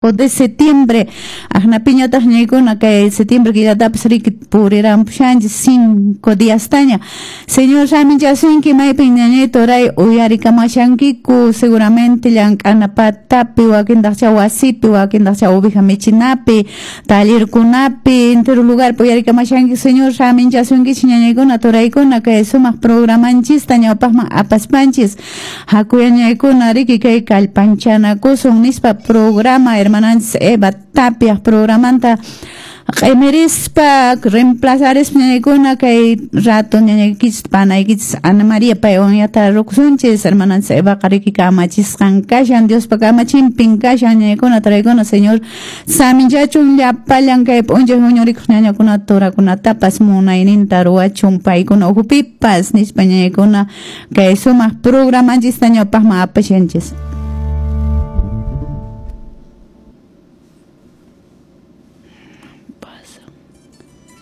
De septiembre aqnapiñataq ñaykuna kay septiembre killatapas riki puriranpushanchis 5 diastaña. Señor saminchasunki maypin ñañay turay uyarikamashankiku seguramente llank'ana patapi wakintaqcha wasipi wakintaqcha oveja michinapi tallerkunapi entero lugarpi uyarikamashanki. Señor saminchasunkichis ñañaykuna turaykuna kay sumaq programanchista ñawpaqman apaspanchis hakuyañaykuna riki kay kallpanchanakusun nispa programa hermananchis Eva Tapia programanta q'imirispa reemplazarispa ñañaykuna kay rato ñañaykichis panaykichis Ana María paywan rukusunchis hermananchis Evaqa riki kamachisqan kashan Diospa kamachinpin kashan ñañaykuna turaykuna. Señor saminchachun llapallan kay p'unchay huñurikuq ñañakuna turakunatapas munayninta ruwachun paykuna ukhupipas nispa ñañaykuna kay sumaq programanchista ñawpaqman apashanchis.